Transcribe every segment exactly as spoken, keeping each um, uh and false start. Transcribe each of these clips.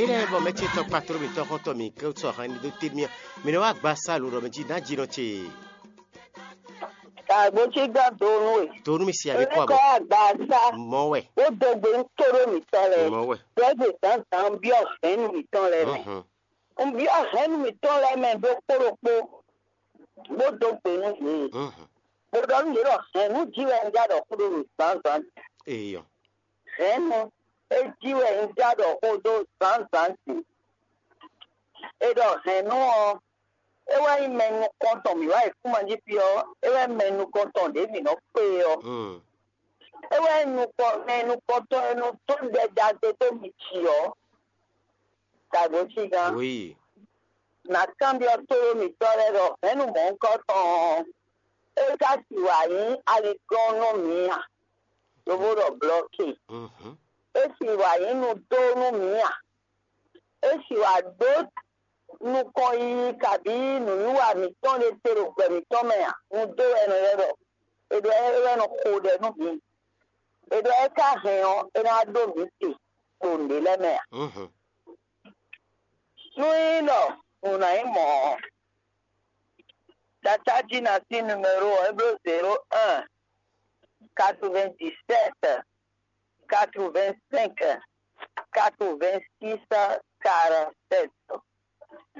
Ene bɔ mɛ ce tɔn kpatro mǐtɔn xɔntɔn mǐ kɛ sɔ hɛn dó te mì mǐ nɔ wá gba sa lǒ ɖɔ mɛ jí ná jí nɔ ce. Kàgbó tí gán donu e. Donu mi si abí kɔ Kɔ abɔ. agba sá. Mɔ wɛ. Ó dogbe ń tó ɖó mǐtɔn lɛ. Mɔ wɛ. Dɔ́gbè zǎnzǎn ń byɔ́ hɛ̌nnu mǐtɔn lɛ mɛ. Mhm. Ń byɔ́ hɛ̌nnu mǐtɔn lɛ mɛ ɖokpó ɖokpó. Bó dó gbe nú yě. Mhm. Bó ɖɔ nú yě ɖɔ hɛ̌nnu jí wɛ un já ɖɔ xó ɖó ɖo zǎnzǎn. Eyɔ. Hɛ̌nnu é jí wɛ un já ɖɔ xó ɖó zǎnzǎn din. È ɖɔ hɛ̌nnu ɔ́, é wɛ nyí mɛ nukɔntɔn mǐ wá yi kúma jí fí ɔ́, é wɛ mɛ nukɔntɔn ɖě mǐ nɔ kpé ɔ́. Mm. É wɛ nukɔ mɛ nukɔntɔn e nɔ dó ɖɛ ɖagbe dó mì jǐ ɔ́. Dǎgbó cígán. Oui. Nǎ kanbyɔ́ tónú mǐtɔn lɛ́ɛ ɖɔ hɛ̌nnu mɔ̌hunkɔtɔn ɔ́, é ka sixú wá nyí aliglɔ́n nú mǐ a? Lobo ɖɔ blɔ́ke. Mhm. É sixú wá nyí nudó nú mǐ a? É sixú wá ɖó nukɔn yiyi kabǐ nǔwiwa mǐtɔn ɖé te ɖo gbɛ mǐtɔn mɛ a? Nudó wɛ è nɔ ylɔ́ ɖɔ. È ɖɔ é wɛ nɔ xo ɖɛ nú mǐ. È ɖɔ é ka hɛn ɔ́, é ná ɖó mǐ te ɖo nǔɖé lɛ́ɛ mɛ a? Mhm. Nú nyí ɖɔ nǔ ná nyí mɔ̌ ɔ́, Tata jí ná sín numéro ɔ́, é bló zéro un, quatre-vingt-dix-sept, quatre-vingt-cinq, quatre-vingt-six, quarante-sept.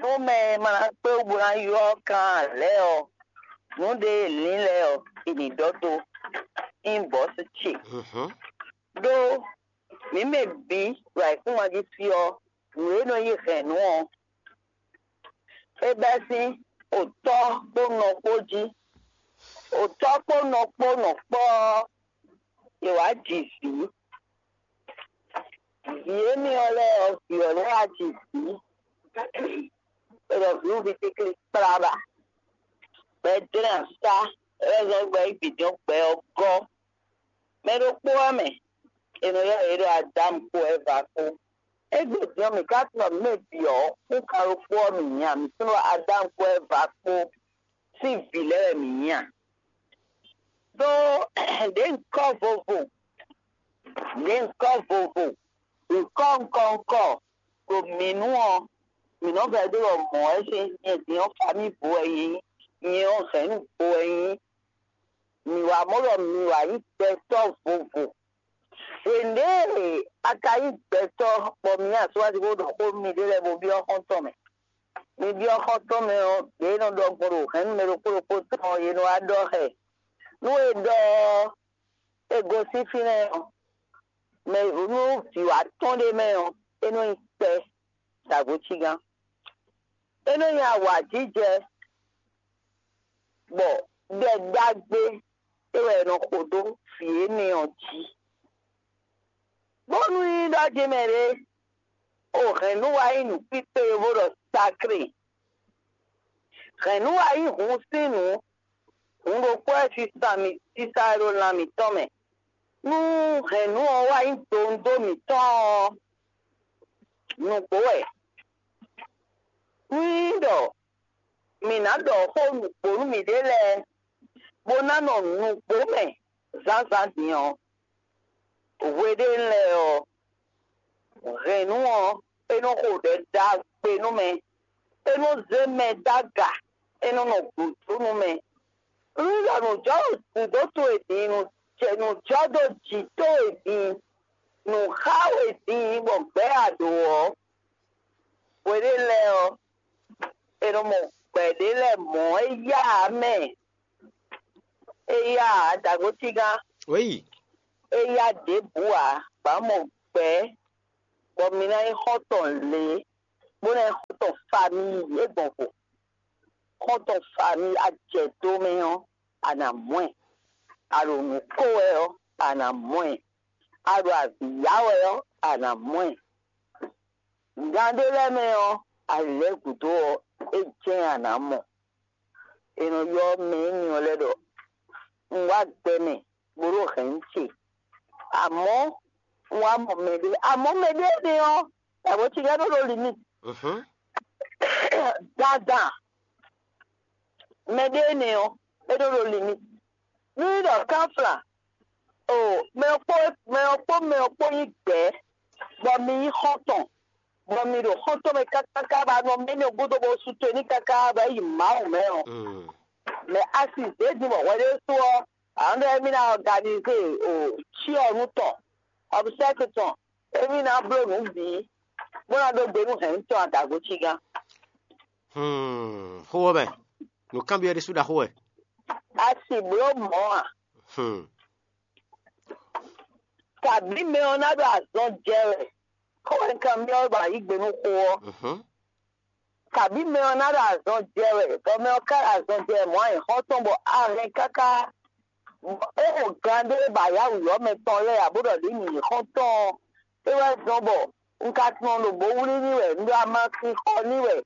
Nú mɛ e ma ná kpé wú bó ná ylɔ́ kan ǎ lɛ́ɛ ɔ́, nǔ ɖě e lǐn lɛ́ɛ ɔ́, è nǐ ɖɔ dó inbox ce. Mhm. Ɖó mǐ mɛ bǐ ɖo ayǐkúngban jí fí ɔ́, nǔ e nɔ yí hɛ̌nnu ɔ́, é bɛ́ sín otɔ́ kpó nɔ kpó jí. Otɔ́ kpó nɔ kpó nɔ kpɔ́ ɔ́, è wǎ ji vǐ. Vǐ énɛ́ ɔ́ lɛ́ɛ ɔ́, vǐ ɔ́ lɛ́ɛ wá ji vǐ. È ɖɔ vǐwuví kéklé kplá ba. Gbɛ jlɛ́n asá, é wɛ zɔ́n gbɛ yí vǐ dɔn gbɛ ɔ́ gɔ́. Mɛ ɖokpó wɛ mɛ, è nɔ ylɔ́ yě ɖɔ Adámu kpó Ɛva kpó. Égbé din ɔ́, mǐ ka tunwun mǐ mɛ bǐ ɔ́, kúnkan ɖokpó ɔ́ mǐ nya, mǐ tunwun ɖɔ Adámu kpó Ɛva kpó sín vǐ lɛ́ɛ wɛ mǐ nyí a? Ɖó ɖě nyǐkɔ vovo, ɖě nyǐkɔ vovo, nyǐkɔ ŋkɔ ŋkɔ ɖo mǐ nu ɔ́, mǐ nɔ vɛdó ɖɔ mɔ̌ wɛ sín nyɛ din ɔ́ famívo wɛ nyí, nyɛ ɔ́ hɛ̌nnu vo wɛ nyí. Mǐ wá mɔ ɖɔ mǐ wá nyí gbɛtɔ́ vovo. Hwěɖée a ka nyí gbɛtɔ́ bɔ mǐ asú wá sí bó ɖɔ xó nú miɖée lɛ́ɛ bó byɔ́ xɔ́ntɔn mɛ. Mi byɔ́ xɔ́ntɔn mɛ ɔ́, ɖě e nɔ ɖɔ gbɔn ɖo hɛ̌nnu mɛ ɖokpó ɖokpó tɔn ɔ́, è nɔ wá ɖɔ xɛ. Nú è ɖɔ ɔ́, è gosín fínɛ́ ɔ́, mɛ nú vǐ wá tɔn ɖé mɛ ɔ́, é nɔ nyí kpɛ́ ɖo agbǒcígán. É nɔ nyí awǎjijɛ bɔ ɖɛ ɖagbe é wɛ è nɔ xo dó vǐ énɛ́ ɔ́ jí. Bónú nyí ɖɔ jí mɛ ɖé, o hɛ̌nnu wá nyí nǔkpíkpé e bó ɖɔ sakré. Hɛ̌nnu wá nyí hun sín nǔ, hun ɖokpó wɛ sísan mì sísa wɛ ɖo lan mǐtɔn mɛ. Nú hɛ̌nnu ɔ́ wá nyí dowundo mǐtɔn ɔ́, nǔgbó wɛ. Nú nyí ɖɔ mǐ ná ɖɔ xó nǔgbó nú mǐɖée lɛ́ɛ, bó ná nɔ nǔgbó mɛ zǎnzǎn din ɔ́, hweɖénu lɛ́ɛ ɔ́, hɛ̌nnu ɔ́, é nɔ xo ɖɛ ɖagbe nú mɛ, é nɔ zé mɛ dó aga, é nɔ nɔ gǔdo nú mɛ. Nú ɖɔ nǔjɔ́ gǔdo towe din, nǔjɛ nǔjɔ́ dó jǐ towe din, nǔ xá we din bɔ gbɛ̌ a ɖǒ ɔ́, hweɖénu lɛ́ɛ ɔ́, è nɔ mɔ gbɛ̌ ɖé lɛ́ɛ mɔ̌ éyá ǎ mɛ. Éyá ǎ, dǎgócígán, Oui. éyá ɖěbǔ ǎ, bǎ mɔ gbɛ̌, bɔ mi ná nyí xɔ́ntɔn lě, bó ná nyí xɔ́ntɔn famíyi é gbɔn vo. Xɔ́ntɔn famíyi a jɛ dó mɛ ɔ́, a nǎ mɔ ɛ. A ɖo nǔ ko wɛ ɔ́, a nǎ mɔ ɛ. A ɖo avǐ yá wɛ ɔ́, a nǎ mɔ ɛ. Gan ɖé lɛ́ɛ mɛ ɔ́, a lɛ̌ gǔdo ɔ́, é jɛ́n a nǎ mɔ. È nɔ ylɔ́ mɛ énɛ́ ɔ́ lɛ́ɛ ɖɔ un wá gbɛ mɛ bó ɖó hɛ̌nnu ce. Amɔ̌ un wá mɔ mɛɖé. Amɔ̌ mɛɖé énɛ́ ɔ́, yǎbɔ́ ce lɛ́ɛ nɔ ɖo limit. Mhm. Dandan mɛɖé énɛ́ ɔ́, é nɔ ɖo limit. Nú é ɖɔ kánflán, o mɛ ɔ́ kpó mɛ ɔ́ kpó mɛ ɔ́ kpó nyí gbɛ̌, bɔ mi nyí xɔ́ntɔn, bɔ mi ɖo xɔ́ntɔn mɛ káká ba nɔ mɛ ní gúdo bó sú to ní káká bɔ é yi Mawu mɛ ɔ́, mɛ a si zě din bɔ hwɛ ɖé sú ɔ́, a nɔ ɖɔ émí ná ɔganizé o cyɔ́nu tɔn, ɔbsɛ́k tɔn, émí ná bló nǔ bǐ, bó ná ɖó gbe nú hɛ̌nnu tɔn adago cígán. Hmm, xó ɔ́ mɛ, nǔkanbyɔ́ ɖésú ɖaxó wɛ. A si bló mɔ̌ a? Hmm. Kabǐ mɛ ɔ́ ná ɖo azɔn jɛ wɛ, xó wɛ un kan byɔ́ bɔ a yǐ gbe nú xó ɔ́. Mhm. Kabǐ mɛ ɔ́ ná ɖo azɔn jɛ wɛ, bɔ mɛ ɔ́ ka ɖo azɔn jɛ wɛ mɔ̌ a nyǐ xɔ́ntɔn bɔ a hɛn káká é xo gan ɖé ba yá wǔyɔ́ mɛ tɔn lɛ́ɛ ǎ, bó ɖɔ ɖě nyǐ xɔ́ntɔn ɔ́, é wɛ zɔ́n bɔ un ka tunwun ɖo bó wlí ní wɛ, un ɖo amasin xɔ ní wɛ,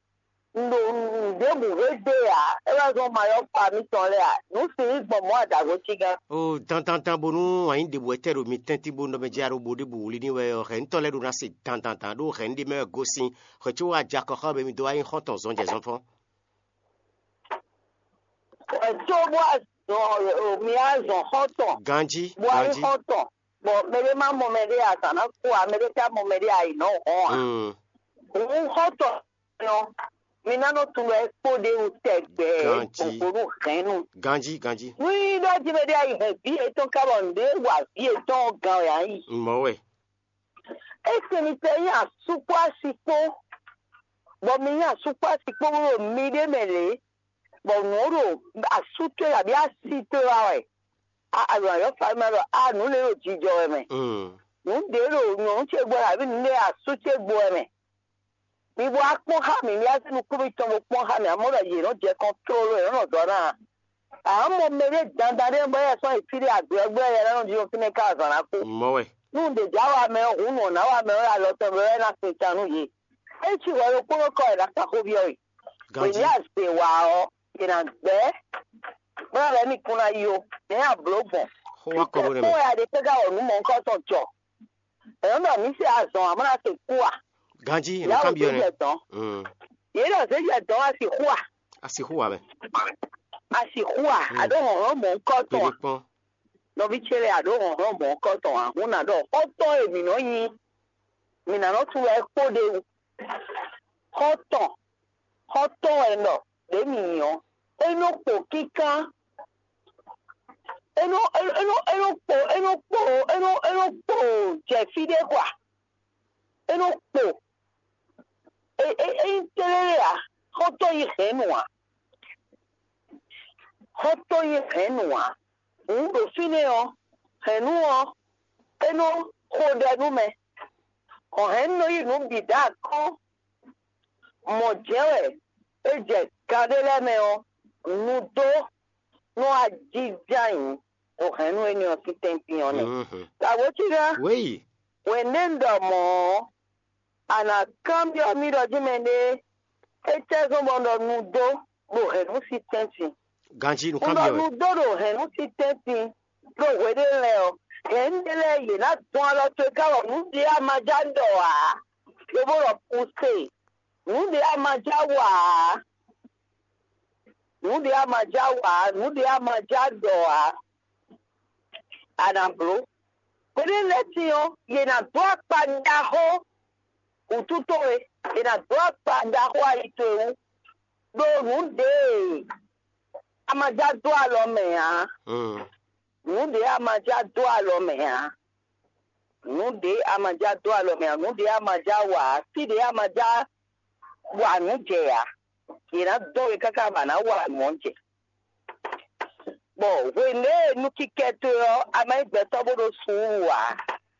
un ɖo nǔɖébǔ hwe dó e ǎ, é wɛ zɔ́n mayɔ́kpa mitɔn lɛ́ɛ ǎ. Nǔ si nyí gbɔn mɔ̌ adago cígán. O dandandan bónú wǎn nyí ɖěbǔ wɛ tɛ́ ɖo mi tɛ́ntin bó nɔ mɛ jɛ ɖo bo ɖěbǔ wlí ní wɛ ɔ́, hɛ̌ntɔ́ lɛ́ɛ ɖó ná se dandandan ɖó hɛ̌nnu ɖé mɛ wɛ gosín xwɛ có wá ja kɔ xá bɔ mi dó wá nyí xɔ́ntɔn zɔnjɛzɔnfɔ́n. Ɛ tó bó azɔn mi azɔn xɔ́ntɔn. Ganjí, bó ayé ganjí. Xɔ́ntɔn, bɔ mɛɖé má mɔ mɛɖé azǎn ná kú ǎ, mɛɖé ká mɔ mɛɖé ayǐ nɔ hɔn ǎ. Mm. Òun xɔ́ntɔn nɔ mi ná nɔ tunwun wɛ kpó ɖé wú tɛgbɛ. Ganjí. Ògbónú hɛnnu. Ganjí, ganjí. Nú yí ɖɔ jí mɛɖé ayǐ hɛn vǐ yětɔn ká bɔ nǔɖé wa vǐ yětɔn ɔ́ gan wɛ ayǐ. Mɔ̌ wɛ. Esi mi tɛ nyí asú kpó asi kpó, bɔ mi nyí asú kpó asi kpó bó ɖo miɖée mɛ lě, bɔ nǔ ɔ́ ɖo asú towe abǐ asi towe wa wɛ, a a ɖo ayɔ́ fa mɛ ɖɔ a nǔ lě ɖo jijɔ wɛ mɛ, nǔ ɖě ɖo nyɔ̌nu ce gbɔ wɛ abǐ nǔ ɖě asú ce gbɔ wɛ mɛ. Mi bó wá kpɔ́n xá mǐ, mi wá zé nukún mitɔn bó kpɔ́n xá mǐ, amɔ̌ ɖɔ yě nɔ jɛ kɔn tlóló, yě nɔ nɔ dɔ̌ ná ǎ. Ǎ mɔ mɛɖé dandan ɖé bɔ é sɔ́ yi fí ɖé agbɛ̌gbɛ́ yɛ lɛ́ɛ nɔ ɖi fínɛ́ ká azǎn ná kú. Mɔ̌ wɛ. Nú ɖě jǎ wa mɛ ɔ́, hǔn nǔ ɔ́ ná wa mɛ ɔ́, alɔ tɔn mɛ wɛ ná sin tan nú yě. É cí hwɛ ɖokpónɔ kɔ è nǎ kan xó byɔ́ we. È ní azě wa ɔ́, è nǎ gbɛ́, bó ná lɛ́ ní kún ná yi ó. Nɛ̌ a blǒ gbɔn? Xó wá kɔ bó nɛ́ mɛ. Kpɔ́n wɛ a ɖe kpé ká wɔ nǔ mɔ̌hunkɔtɔn jɔ. È nɔ ɖɔ mǐ se azɔn ǎ, bó ná se kú a? Ganjí, è nɔ Yǎwǔ kanbyɔ́ tó nɛ́. Jɛ dɔ̌n. Mm. Yě ɖɔ zě jɛ dɔ̌n a sixú a? A sixú wǎ mɛ. A sixú a? Mm. A ɖó hlɔ̌nhlɔ́n mɔ̌hunkɔtɔn Kpéɖé a? Kpɔ́n. Nɔví ce lɛ́ɛ, a ɖǒ hlɔ̌nhlɔ́n mɔ̌hunkɔtɔn ǎ, hǔn nǎ ɖɔ xɔ́ntɔn e mǐ nɔ nyí, mǐ ná nɔ tunwun wɛ kpó ɖ'é wú. Xɔ́ntɔn, xɔ́ntɔn wɛ un ɖɔ ɖě mǐ nyí ɔ́, é nɔ kpo kínkán, é nɔ é nɔ é nɔ kpo é nɔ kpo é nɔ é nɔ kpo jɛ fí ɖé kɔ a? É nɔ kpo é é é nyí tlélé ǎ, xɔ́ntɔn nyí hɛ̌nnu ǎ. Xɔ́ntɔn nyí hɛ̌nnu ǎ. Hǔn ɖo fínɛ́ ɔ́, hɛ̌nnu ɔ́, é nɔ xo ɖɛ nú mɛ. Hɔn hɛ̌nnu nɔ yí nǔ bǐ dó akɔ́n. Mɔ̌ jɛ́n wɛ é jɛ gan ɖé lɛ́ɛ mɛ ɔ́, nu dó nú ajijɛ ayǐ ɖo hɛ̌nnu énɛ́ ɔ́ sín tɛ́ntin ɔ́ nɛ́. Tǎgbó cí ná, Wéyi. Hwɛ̌nɖé un ɖɔ mɔ̌ ɔ́, a nǎ kanbyɔ́ mì ɖɔ jí mɛɖé étɛ́ zɔ́n bɔ un ɖɔ nu dó ɖo hɛ̌nnu sín tɛ́ntin. Ganjí Un ɖɔ nukánbyɔ́ wɛ. Nu dó ɖo hɛ̌nnu sín tɛ́ntin ɖo hweɖé lɛ́ɛ ɔ́, hɛ̌nnu ɖé lɛ́ɛ yě ná dɔn alɔ towe ká wɔ nǔ ɖé a ma já ɖɔ ǎ, lobo ɖɔ kuse, nǔ ɖé a ma já wa ǎ, nǔ ɖé a ma já wa ǎ, nǔ ɖé a ma já ɖɔ ǎ. A nǎ bló. Hweɖé lɛ́ɛ tín ɔ́, yě ná dó akpa ɖaxó wǔtu towe, yě ná dó akpa ɖaxó ayi towe wú, ɖó nǔ ɖě a ma já dó alɔ mɛ ǎ. Nǔ ɖě a ma já dó alɔ mɛ ǎ. Nǔ ɖě a ma já dó alɔ mɛ ǎ. Nǔ ɖě a ma já wa ǎ. Fí ɖě a ma já wa nǔ jɛ ǎ. Yě ná dɔn we káká bɔ a nǎ wa nǔ ɔ́ jɛ. Bɔ hwenu e nú kíkɛ towe ɔ́, a ma nyí gbɛtɔ́ bó ɖó suúlu ǎ.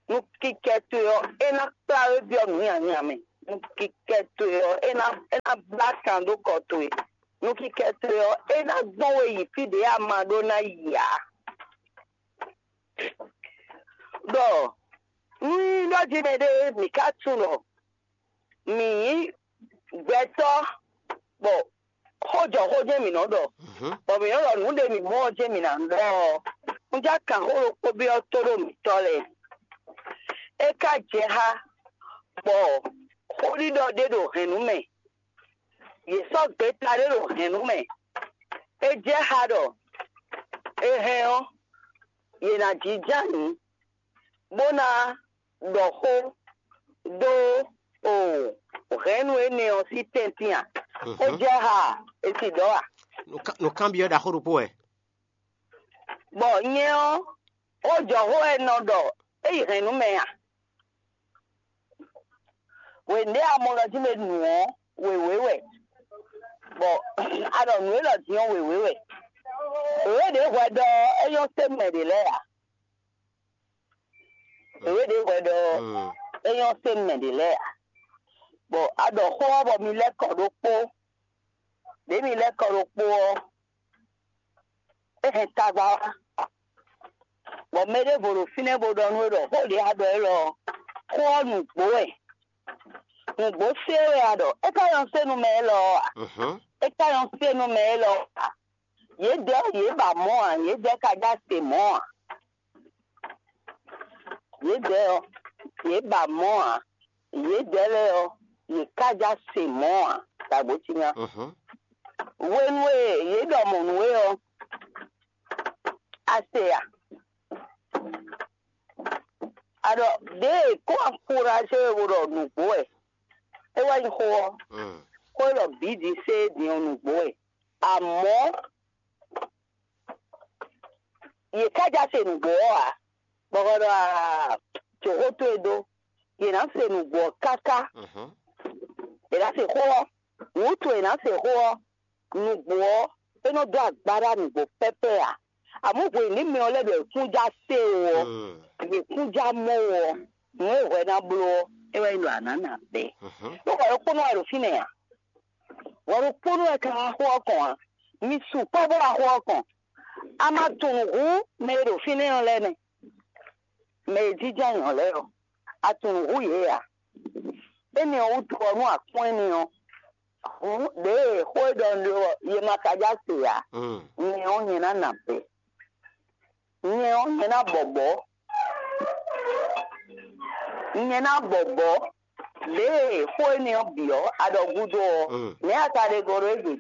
Nú kíkɛ towe ɔ́, é ná kplá we byɔ́ nǔ nyanyan mɛ. Nú kíkɛ towe ɔ́, é ná é ná blá kan dó kɔ towe. Nú kíkɛ towe ɔ́, é ná gbɔn we yi fí ɖě a ma ɖó ná yi ǎ. Ɖɔ nú nyí ɖɔ jí mɛɖé mǐ ka tunwun ɖɔ mǐ nyí gbɛtɔ́ bɔ xó jɔ xó jɛ́n mǐ nɔ ɖɔ, bɔ mǐ nɔ ɖɔ nǔ ɖe mǐ mɔ ɔ́ jɛ́n mǐ ná ɖɔ ɔ́, un já kan xó ɖokpó byɔ́ tóɖó mǐtɔn lɛ́ɛ. É ka jɛ xá bɔ xóɖiɖɔ ɖé ɖo hɛ̌nnu mɛ, yě sɔ́ gbeta ɖé ɖo hɛ̌nnu mɛ. É jɛ xá ɖɔ è hɛn ɔ́, yě ná jínjɔ́n ayǐ, bó ná ɖɔ xó dó o Enu énɛ́ ɔ́ sín tɛ́ntin a? É jɛ ha e si dɔ̌ a? Nǔkanbyɔ́ ɖaxó ɖokpó wɛ. Bɔ nyɛ ɔ́, ó jɔ xó e nɔ ɖɔ é yi hɛn nú mɛ a? Wěndé amɔlɔjí mɛ nǔ ɔ́ wěwé wɛ, bɔ a ɖɔ nǔ élɔ́ din ɔ́ wěwé wɛ. Wěwé ɖě hwɛ ɖɔ é nyɔ́ sé mɛ ɖě lɛ́ɛ ǎ. Wěwé ɖě hwɛ ɖɔ é nyɔ́ sé mɛ ɖě lɛ́ɛ ǎ. Bɔ a ɖɔ xó ɔ́ bɔ mi lɛ́ kɔ ɖokpó. Ɖě mi lɛ́ kɔ ɖokpó ɔ́, é hɛn tagba wá. Bɔ mɛ ɖěvo ɖo fínɛ́ bó ɖɔ nú é ɖɔ xó ɖě a ɖɔ élɔ́ ɔ́, xó ɔ́ nǔgbó wɛ. Nǔgbó sé wɛ a ɖɔ, é ka nyɔ́ sé nú mɛ élɔ́ ɔ́ a? É ka nyɔ́ sé nú mɛ élɔ́ ɔ́ a? Yědɛɛ yě ba mɔ̌ ǎ, yědɛɛ ka já se mɔ̌ ǎ. Yědɛɛ ɔ́, yě ba mɔ̌ ǎ. Yědɛɛ lɛ́ɛ ɔ́, yě ka já se mɔ̌ ǎ. Dǎgbó cí nya. Hwenu e yě ɖɔ mɔ̌ nú we ɔ́, a se a? A ɖɔ ɖěe kó axúɖaṣé e bo ɖɔ nǔgbó wɛ. É wɛ nyí xó ɔ́. Xó e ɖɔ bǐ din sé din ɔ́ nǔgbó wɛ. Amɔ̌ yě ká já se nǔgbó ɔ́ ǎ, bɔ xɔ ɖɔ aa, jǒxó towe dó. Yě ná se nǔgbó ɔ́ káká. Yě ná se xó ɔ́. Wǔtu yě ná se xó ɔ́, nǔgbó ɔ́, é nɔ dó agbaɖa nǔgbó pɛ́pɛ́ ǎ. Amɔ̌ hwenu mɛ ɔ́ lɛ́ ɖɔ yě kún já se o ɔ́, yě kún já mɔ o ɔ́, nǔ e hwɛ ná bló ɔ́, é wɛ nyí ɖɔ a nǎ nǎ bɛ́. Ɖó hwɛ ɖokpónɔ wɛ ɖo fínɛ́ ǎ. Hwɛ ɖokpónɔ wɛ ka wá xó ɔ́ kɔn ǎ. Mi sukpɔ́ bó wá xó ɔ́ kɔn. A ma tunwun hǔn mɛ e ɖo fínɛ́ ɔ́ lɛ́ɛ nɛ́. Mɛ e jínjɔ́n ayǐ ɔ́ lɛ́ɛ ɔ́, a tunwun hǔn yě ǎ. Énɛ́ ɔ́ wútu ɔ́, nú a kpɔ́n énɛ́ ɔ́, hǔn ɖěe xó e ɖɔ un ɖe ɔ́, yě ma ka já se ǎ. Nyɛ ɔ́, nyɛ ná nǎ bɛ́. Nyɛ ɔ́, nyɛ ná bɔbɔ̌. Nyɛ ná bɔbɔ̌. Ɖěe xó énɛ́ ɔ́ bǐ ɔ́, a ɖɔ gúdo ɔ́, nɛ̌ a ka ɖe gɔ́ ɖó é gbe?